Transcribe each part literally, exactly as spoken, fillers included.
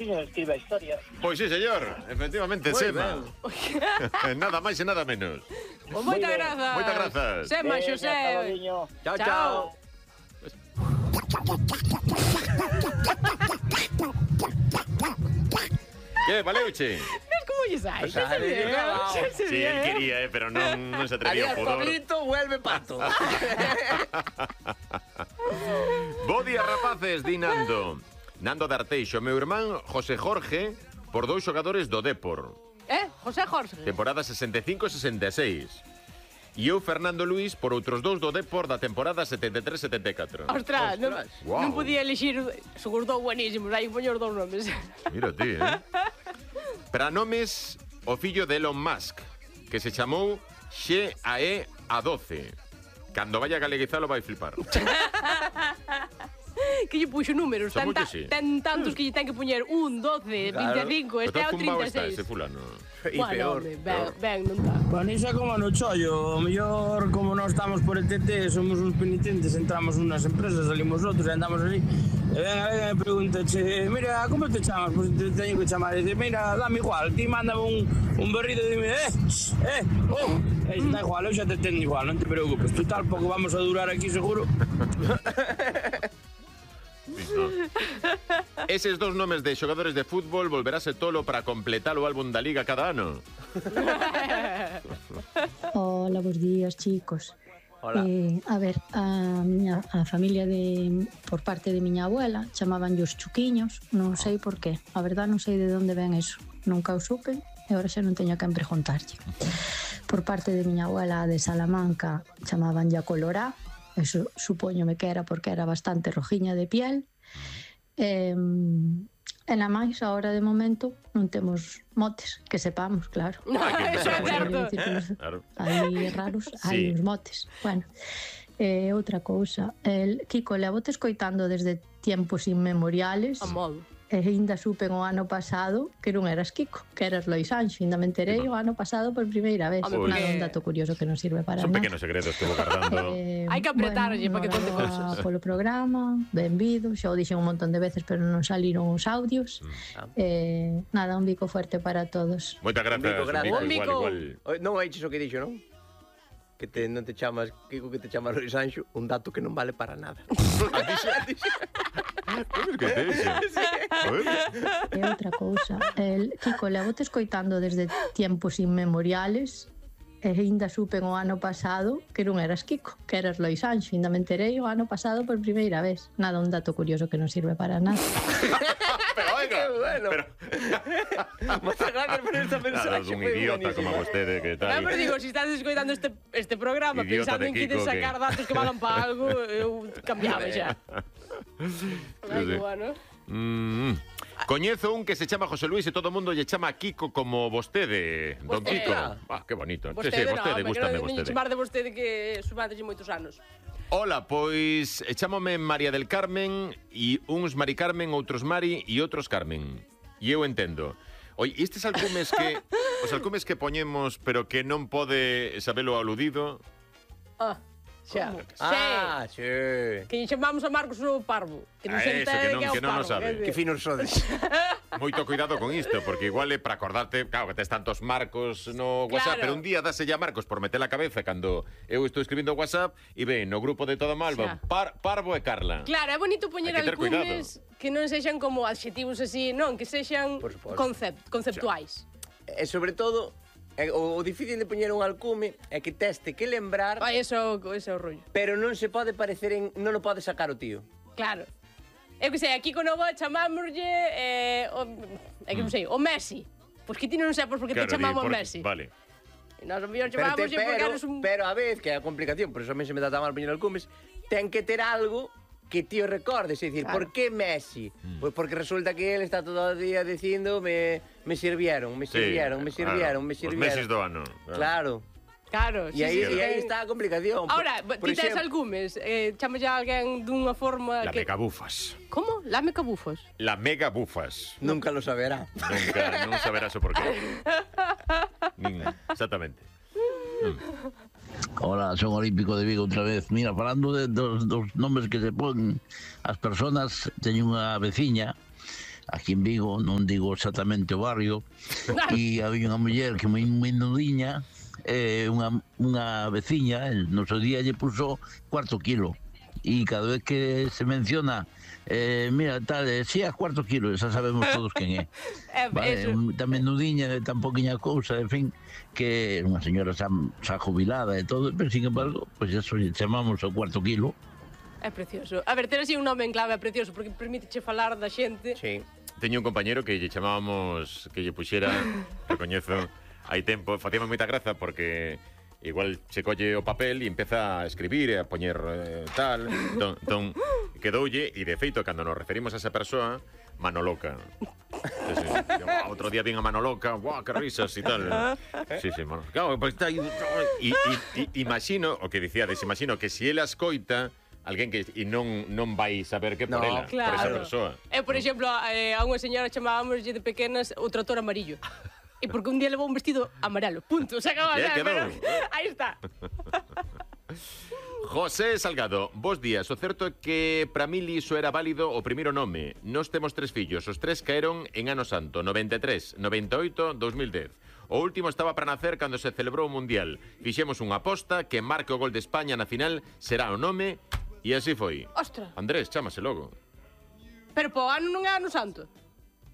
Tiño escribe a historia. Pois sí, señor, efectivamente, Moi Sema. Nada máis e nada menos. Pois moitas grazas. Moitas grazas. Sema, Veña, Xosé. cabaliño. Chao, Chao. chao. Que, valeuche? Ves como lle sai? Pues sale, Xa se ve, claro. xa se Sí, ve. él quería, eh, pero non, non se atrevía Adiós, o pudor. Pablito, vuelve pato. Bo día, rapaces, di Nando. Nando de Arteixo, meu irmán José Jorge, por dous xogadores do Dépor. Eh, José Jorge. Temporada sesenta e cinco sesenta e seis. E eu, Fernando Luís, por outros dous do Dépor da temporada setenta e tres setenta e catro. Ostras, non, Guau. non podía elixir. Son os dous buenísimos, hai que poñer os dous nomes. Mira ti, eh? Para nomes, o fillo de Elon Musk, que se chamou Xe A E A doce. Cando vaya a galeguizalo vai flipar. Que lle puxo números, Son ten, moi ta, que sí. ten tantos que lle ten que poñer un, doce, Claro. vinte e cinco, este é o Zumbao trinta e está seis. ese fulano. E Bueno, peor. home, ben, ben, non tá. Vanisa como no chollo, o mellor como non estamos por E T T, somos uns penitentes, entramos unas empresas, salimos outros e andamos ali. E venga, venga, e pregunta, che, mira, como te chamas? Pois te teño que chamar. E dice, mira, dame igual, ti mándame un, un berrido e dime, eh, eh, oh. E dice, da igual, eu xa te teño igual, non te preocupes. Total, pouco vamos a durar aquí, seguro. Eses dos nomes de xogadores de fútbol volverase tolo para completar o álbum da Liga cada ano. Hola, bos días, chicos. Hola. Eh, a ver, a miña a familia de por parte de miña abuela chamaban os chuquiños, non sei por qué. A verdad non sei de onde ven eso. Nunca o supe e agora xa non teño a quen preguntarlle. Por parte de miña abuela de Salamanca chamaban ya Colorá. Eso supóñome que era porque era bastante rojiña de piel. Eh, e na máis, agora de momento non temos motes, que sepamos, claro. Hai que Eso é empezar a poñer. certo. Decir que nos- Claro. Hai raros, hai Sí. uns motes. Bueno, eh, outra cousa. El Kiko, levote escoitando desde tiempos inmemoriales. A modo. E ainda supen o ano pasado que non eras Kiko, que eras Lois Anxo. Ainda me enterei o ano pasado por primeira vez. Home, Nada, porque- un dato curioso que non sirve para Son nada. pequenos segredos que vou guardando. Eh, Hai que apretarlle para que conte enhorabuena cousas. polo programa, benvido, xa o dixen un montón de veces, pero non saliron os audios. Eh, nada, un bico fuerte para todos. Moitas grazas, Un bico grande. Mico, Un bico. igual, igual. Oi, non oiches o que dixo, non? Que te, non te chamas Kiko, que te chamas Luis Anxo, un dato que non vale para nada. Como es que te dixe? A ver. E outra cousa, el Kiko, levote escoitando desde tiempos inmemoriales e ainda supen o ano pasado que non eras Kiko, que eras Lois Anxo. Ainda me enterei o ano pasado por primeira vez. Nada, un dato curioso que non sirve para nada. Pero oiga, Qué bueno. pero Moitas gracias por esta nada, mensaxe. un foi idiota como buenísima. vostede que Ah, tal. pero digo, se estás escoitando este, este programa Idiota pensando de en que Kiko, de sacar que- datos que valan para algo, eu cambiaba xa. Ai, sí. que bueno. Mm. Coñezo un que se chama José Luis e todo o mundo lle chama Kiko como vostede, don Vostede. Kiko. Ah, que bonito. Vostede, sí, sí, vostede, no, gústame non, vostede. chamar de vostede que sumades moitos anos. Hola, pois eh, chámome María del Carmen e uns Mari Carmen, outros Mari e outros Carmen. E eu entendo. Oi, estes alcumes que os alcumes que poñemos pero que non pode sabelo aludido. Ah, xa. Ah, Sí. sí. Que lle chamamos a Marcos o Parvo. Que non Ah, se eso, entere que non- que é o que non o Parvo. sabe. quer dizer. Que finos sodes. Moito cuidado con isto, porque igual é para acordarte, claro, que tes tantos Marcos no WhatsApp, Claro. pero un día dase ya Marcos por meter a cabeza cando eu estou escribindo WhatsApp e ven no grupo de Todo Malva, Xa. par, Parvo e Carla. Claro, é bonito poñer Hai que ter alcumes que non sexan como adxetivos así, non, que sexan Por suposto. concept, conceptuais. E sobre todo, é, o, o difícil de poñer un alcume é que teste que lembrar, Ai, eso, eso é o rollo. pero non se pode parecer en... non o pode sacar o tío. Claro. Eu que sei, aquí con o bo chamámoslle eh, o, é que non sei, o Messi. Pois que ti non sabes por que te Claro, di, chamamos por- Messi. Vale. E nós o mellor Pero, te, chamámoslle porque pero, eres un... pero a vez, que é a complicación, por eso a mí se me dá tan mal poñer alcumes, ten que ter algo que tío recordes, é dicir, Claro. por que Messi? Pois porque resulta que ele está todo o día dicindo me, me sirvieron, me Sí, sirvieron, me claro, sirvieron, me Os sirvieron. meses do ano. Claro. Claro, E aí, sí, sí, e aí ten- está a complicación. Por- Ahora, por ti tes exemplo- alcumes, eh, chamas a alguén dunha forma La que... mega bufas. Como? Lame cabufos. La mega bufas. Nunca lo saberá. Nunca, non saberás o porqué. Nin, exactamente. Hola, son Olímpico de Vigo outra vez. Mira, falando de, dos, dos nomes que se pon as personas, teño unha veciña, aquí en Vigo, non digo exactamente o barrio, e había unha muller que moi, moi nudiña, eh, unha, unha veciña, no seu día lle puso cuarto kilo, e cada vez que se menciona eh, mira, tal, eh, si é cuarto kilo, xa sabemos todos quen é. Vale, un, tamén nudiña, tan poquinha cousa, en fin, que unha señora xa, xa jubilada e todo, pero sin embargo, pois pues eso chamamos o cuarto kilo. É precioso. A ver, ter así un nome en clave é precioso, porque permíteche falar da xente. Sí. Teño un compañero que lle chamábamos que lle puxera, recoñezo, hai tempo, facíame moita graza porque igual se colle o papel e empeza a escribir e a poñer eh, tal, ton, ton, quedoulle, e de feito, cando nos referimos a esa persoa, Manoloca. Sí, sí. Outro día vin a Manoloca, guau, que risas e tal. Sí, sí, Manolo. Claro, pues está aí. E, e, e imagino, o que dicíades, imagino que se ela escoita, alguén que e non non vai saber que por No, ela, claro. por esa persoa. E, por exemplo, eh, a unha señora chamábamos de pequenas o trator amarillo. E porque un día levou un vestido amarelo. Punto, se acaba. Ya Ya, quedou. pero aí está. José Salgado, bos días. O certo é que para mí iso era válido o primeiro nome. Nós temos tres fillos, os tres caeron en Ano Santo, noventa e tres, noventa e oito, dos mil dez. O último estaba para nacer cando se celebrou o Mundial. Fixemos unha aposta que marque o gol de España na final será o nome e así foi. Ostra. Andrés, chámase logo. Pero po ano non é Ano Santo.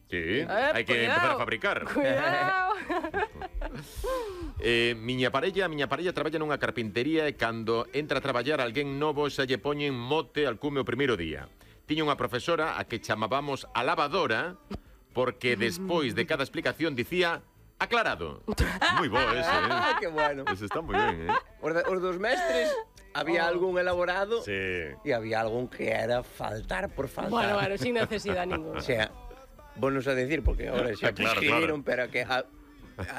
Sí, Eh, hai que cuidado. empezar a fabricar. Cuidado. Eh, miña parella, miña parella traballa nunha carpintería e cando entra a traballar alguén novo xa lle poñen mote al cume o primeiro día. Tiña unha profesora a que chamábamos a lavadora porque despois de cada explicación dicía aclarado. Moi bo ese, eh? Ah, que bueno. Ese está moi ben, eh? Os, de, os dos mestres, había Oh. algún elaborado Sí. e había algún que era faltar por faltar. Bueno, bueno, sin necesidade ninguna. O sea, bonos a decir, porque ahora xa Claro, prescribiron, pero que a,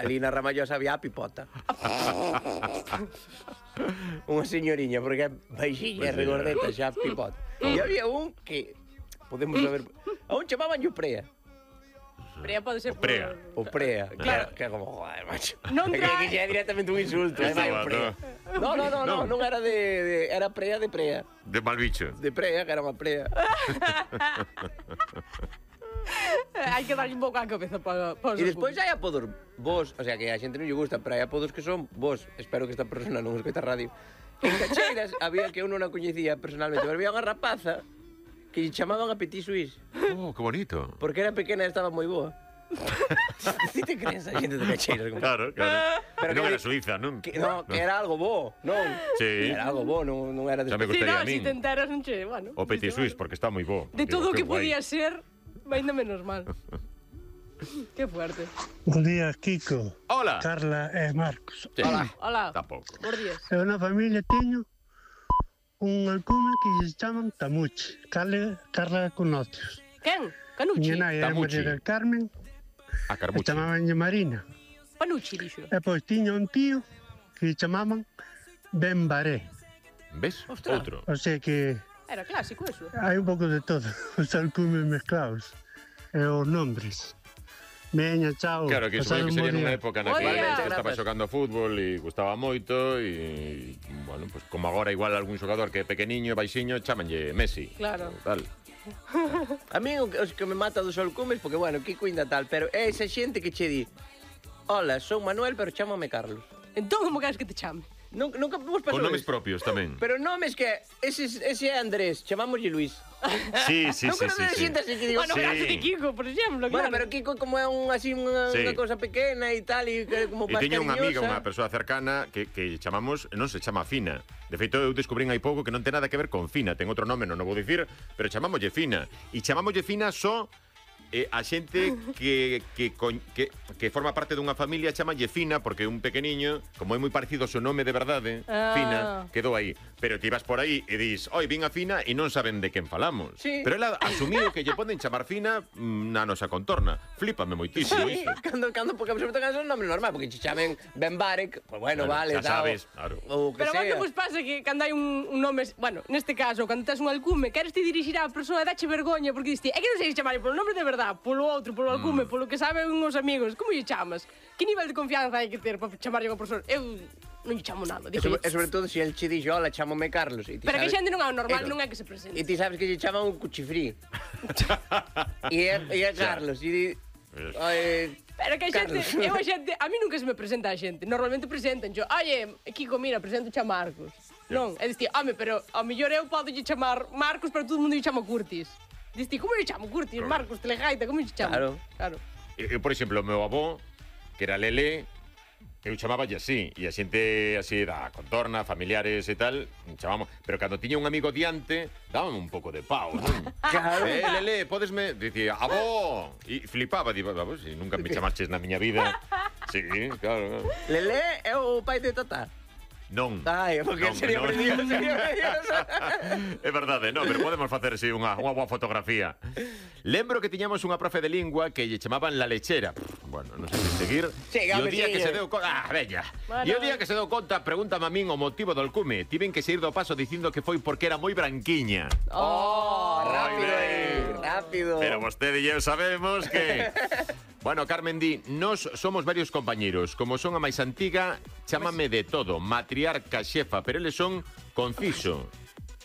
ali na Ramallosa había a pipota. Unha señoriña, porque é baixiña, Pues sí, regordeta, xa pipota. E había un que, podemos saber, a un chamaban yo Prea. Prea pode ser O Prea. O Prea, Claro. que, que como, joder, macho. Non que, tra- que xa é directamente un insulto, é Estaba, vai o Prea. No, no, no, No. no, non era de, de era Prea de Prea. De mal bicho. De Prea, que era unha Prea. Hai que darlle un pouco a cabeza para pa E despois hai apodos vos, o sea, que a xente non lle gusta, pero hai apodos que son vos. Espero que esta persona non escoita radio. En Cacheiras había que eu non a coñecía personalmente, pero había unha rapaza que lle chamaban a Petit Suisse, Oh, que bonito. porque era pequena e estaba moi boa. Si te crees a xente de Cacheiras? Como... Claro, claro. Pero non que- era Suiza, non? Que, no, que era algo bo, non? Sí. Era algo bo, non, non era de... Xa me Si gustaría no, a si min. te enteras, non che, bueno. O Petit dices, Suisse, bueno. porque está moi bo. De Digo, todo o que que guai. podía ser, ainda menos mal. Qué fuerte. Bo día, Kiko, Hola. Carla e Marcos. Sí. Hola. Hola. Tampouco. Bos días. Eu na familia teño un alcume que se chaman Tamuchi. Carla, Carla Conocios. Quen? Canucci? Miña nai era Tamuchi. María del Carmen, A e Carmuchi. chamabanlle Marina. Panucci, dixo. E pois tiña un tío que chamaban Ben Baré. Ves? Ostras. Outro. O sea que Era clásico eso. hai un pouco de todo, os alcumes mezclados e os nombres. Veña, chao. Claro, que supoño pasade que un bo sería nunha día. época na Bo que día. se estaba Gracias. xogando fútbol e gustaba moito e, bueno, pues como agora igual algún xogador que é pequeniño, baixiño, chamanlle Messi. Claro. Tal. A mí o que- os que me mata dos alcumes, porque, bueno, Kiko ainda tal, pero é esa xente que che di hola, son Manuel, pero chámame Carlos. Entón, como queres que te chame? Nunca, nunca vos pasou Con nomes isto? propios tamén. Pero nomes que ese, ese é Andrés, chamámoslle Luis. Sí, sí, non sí, sí, conoces sí. xente así que digo, Bueno, Sí. sí. caso de Kiko, por exemplo, bueno, claro. pero Kiko como é un así unha, Sí. unha cousa pequena e tal e que como E máis teño unha amiga, cariñosa. unha persoa cercana que, que chamamos, non se chama Fina. De feito, eu descubrín hai pouco que non ten nada que ver con Fina. Ten outro nome, non o vou dicir, pero chamámoslle Fina. E chamámoslle Fina só eh, a xente que, que, coñ- que, que forma parte dunha familia chamalle Fina, porque un pequeniño, como é moi parecido ao seu nome de verdade, Ah. Fina, quedou aí. Pero ti vas por aí e dis, oi, vin a Fina e non saben de quen falamos. Sí. Pero ela asumiu que lle poden chamar Fina mm, na nosa contorna. Flípame moitísimo Sí, iso. cando, cando, porque sobre todo cando é un nome normal, porque che chamen Ben Barek, pues bueno, Claro, vale, xa dao, sabes, claro. ou que Pero sea. que vos pasa que cando hai un, un nome, bueno, neste caso, cando tes un alcume, queres te dirixir á persoa e dache vergoña porque diste, é que non sei chamarlle polo nome de verdade, polo outro, polo alcume, Mm. polo que saben uns amigos, como lle chamas? Que nivel de confianza hai que ter para chamarlle a unha persoa? Eu non lle chamo nada. E sobre, e sobre todo, se el che dixo, hola, chámome Carlos. E ti Pero que sabes- xente non é o normal, Eso. non é que se presente. E ti sabes que lle chaman un cuchifrí. E é, e é Carlos. E di... Oye, Pero que a xente, Carlos. eu a xente, a mí nunca se me presenta a xente. Normalmente presentan yo, oye, Kiko, mira, presento a Marcos. Non, é dicir, home, pero ao mellor eu podo lle chamar Marcos, pero todo o mundo lle chama Curtis. Diste, como lle chamo Curtis, Marcos, Telegaita, como lle chamo? Claro. Claro. Eu, por exemplo, o meu avó, que era Lele, eu chamaballe así, e a xente así da contorna, familiares e tal, chamamos, pero cando tiña un amigo diante, dábame un pouco de pau, non? Claro. Eh, Lele, podesme... Dicía, avó! E flipaba, digo, vamos, si nunca me chamaches na miña vida. Sí, claro, claro. Lele é o pai de Tata. Non. Ai, porque Non, sería non. precioso, sería precioso. É verdade, non, pero podemos facer así unha, unha boa fotografía. Lembro que tiñamos unha profe de lingua que lle chamaban la lechera. Bueno, non sei se seguir. Sí, e o home, día sí, que se eh. deu conta... Ah, bella. Bueno. E o día que se deu conta, pregúntame a min o motivo do alcume. Tiven que sair do paso dicindo que foi porque era moi branquiña. Oh, rápido, Moi eh, ben. rápido. Pero vostede e eu sabemos que... Bueno, Carmen di, nos somos varios compañeros. Como son a máis antiga, chámame de todo. Matriarca, xefa, pero eles son conciso,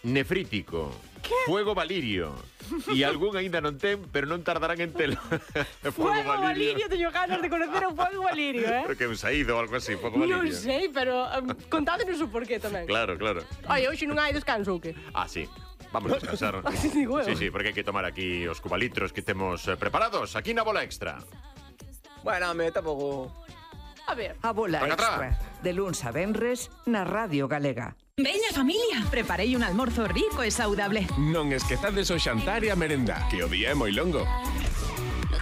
nefrítico, fuego valirio. E algún aínda non ten, pero non tardarán en telo. Fuego Valirio, teño ganas de conocer o Fuego Valirio, eh? Creo que un saído ou algo así, Fuego Non Valirio. sei, pero um, contádenos o porqué tamén. Claro, claro. Oye, hoxe non hai descanso ou que? Ah, sí. Vamos a descansar. Así digo eu. Sí, sí, porque hai que tomar aquí os cubalitros que temos eh, preparados. Aquí na Bola Extra. Bueno, me tampouco... A ver. A Bola Venga, Extra, de luns a venres, na Radio Galega. Veña, familia, preparei un almorzo rico e saudable. Non esquezades o xantar e a merenda, que o día é moi longo.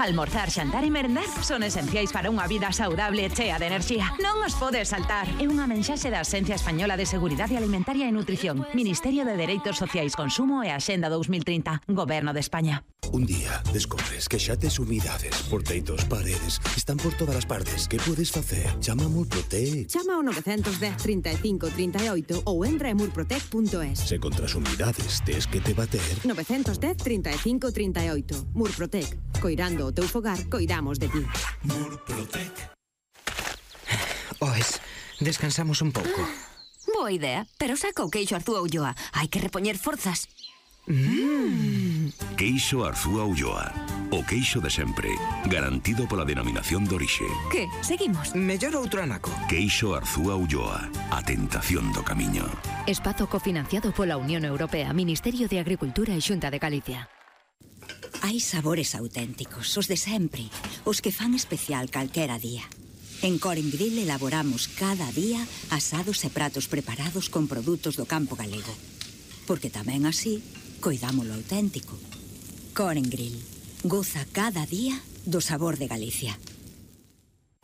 Almorzar, xantar e merendar son esenciais para unha vida saudable e chea de enerxía. Non os podes saltar. É unha mensaxe da Axencia Española de Seguridade Alimentaria e Nutrición, Ministerio de Dereitos Sociais, Consumo e Axenda dous mil trinta, Goberno de España. Un día descobres que xa tes umidades por teitos, paredes, están por todas as partes. Que podes facer? Chama a Murprotec. Chama ao nove un cero, trinta e cinco, trinta e oito ou entra en murprotec punto es. Se contra as umidades tes que te bater, nove un cero, trinta e cinco, trinta e oito. Murprotec. Coirando o teu fogar, coidamos de ti. Murprotec. Oes, descansamos un pouco. Boa idea, pero saca o queixo Arzúa Ulloa. Hai que repoñer forzas. Mm. Queixo Arzúa Ulloa. O queixo de sempre, garantido pola denominación de orixe. Que? Seguimos? Mellor outro anaco. Queixo Arzúa Ulloa. A tentación do camiño. Espazo cofinanciado pola Unión Europea, Ministerio de Agricultura e Xunta de Galicia. Hai sabores auténticos, os de sempre, os que fan especial calquera día. En Coren Grill elaboramos cada día asados e pratos preparados con produtos do campo galego. Porque tamén así, coidámolo auténtico. Coren Grill. Goza cada día do sabor de Galicia.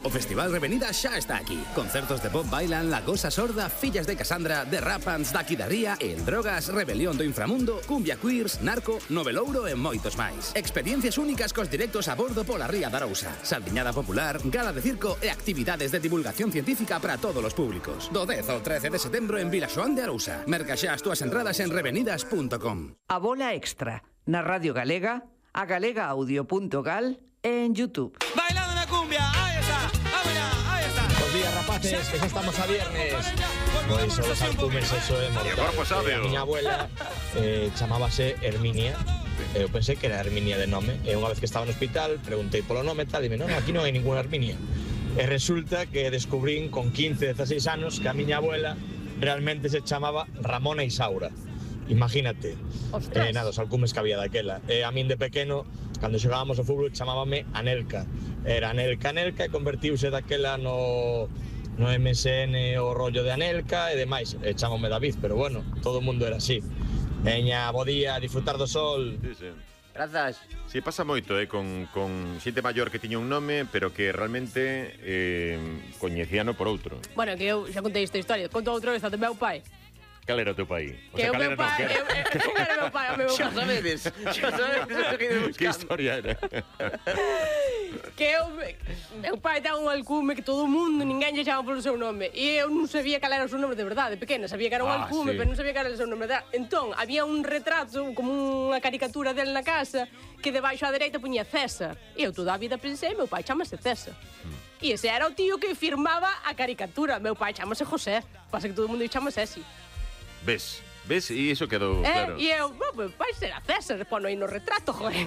O Festival Revenida xa está aquí. Concertos de Bob Bailan, La Gosa Sorda, Fillas de Casandra, The Rapans, Daqui da Ría, El Drogas, Rebelión do Inframundo, Cumbia Queers, Narco, Novelouro e moitos máis. Experiencias únicas cos directos a bordo pola Ría da Arousa. Saldiñada popular, gala de circo e actividades de divulgación científica para todos os públicos. Do dez ao trece de setembro en Vilaxoán de Arousa. Merca xa as túas entradas en revenidas punto com. A Bola Extra, na Radio Galega, a galega audio punto gal e en YouTube. Bailando na cumbia, ahí está, vámonos, ahí está. Bos días, rapaces, que xa estamos a viernes. Pois son os alcumes, eso é mortal. A miña abuela eh, chamábase Herminia. Eu pensei que era Herminia de nome. E unha vez que estaba no hospital, preguntei polo nome e tal, e dime, non, aquí non hai ninguna Herminia. E resulta que descubrín con quince, dezaseis anos que a miña abuela realmente se chamaba Ramona Isaura. Imagínate. Eh, nada, os alcumes que había daquela. E a min de pequeno, cando xogábamos ao fútbol, chamábame Anelka. Era Anelka, Anelka, e convertiuse daquela no, no M S N o rollo de Anelka e demais. E chamame David, pero bueno, todo o mundo era así. Veña, bo día, disfrutar do sol. Sí, sí. Grazas. Sí, pasa moito, eh, con, con xente maior que tiña un nome, pero que realmente eh, coñecíano por outro. Bueno, que eu xa contei esta historia. Conto outra vez a do meu pai. Cal era o teu pai? O Que sea, o cal meu era, non, pai, que era? eu, eu, eu era meu pai, o meu Xa pai. sabedes, xa sabedes o que ides buscando. Que historia era? Que eu, meu pai ten un alcume que todo o mundo, ninguén lle chama polo seu nome. E eu non sabía cal era o seu nome de verdade, pequena. Sabía que era un Ah, alcume, sí. pero non sabía cal era o seu nome de verdade. Entón, había un retrato, como unha caricatura del na casa, que debaixo á dereita puñía César. E eu toda a vida pensei, meu pai chamase César. E ese era o tío que firmaba a caricatura. Meu pai chamase José. Pasa que todo o mundo chamase así. Ves, ves, e iso quedou Eh, claro. e eu, "Bo, meu pai será César, pono aí no retrato, joder."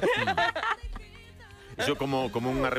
Iso como, como unha revista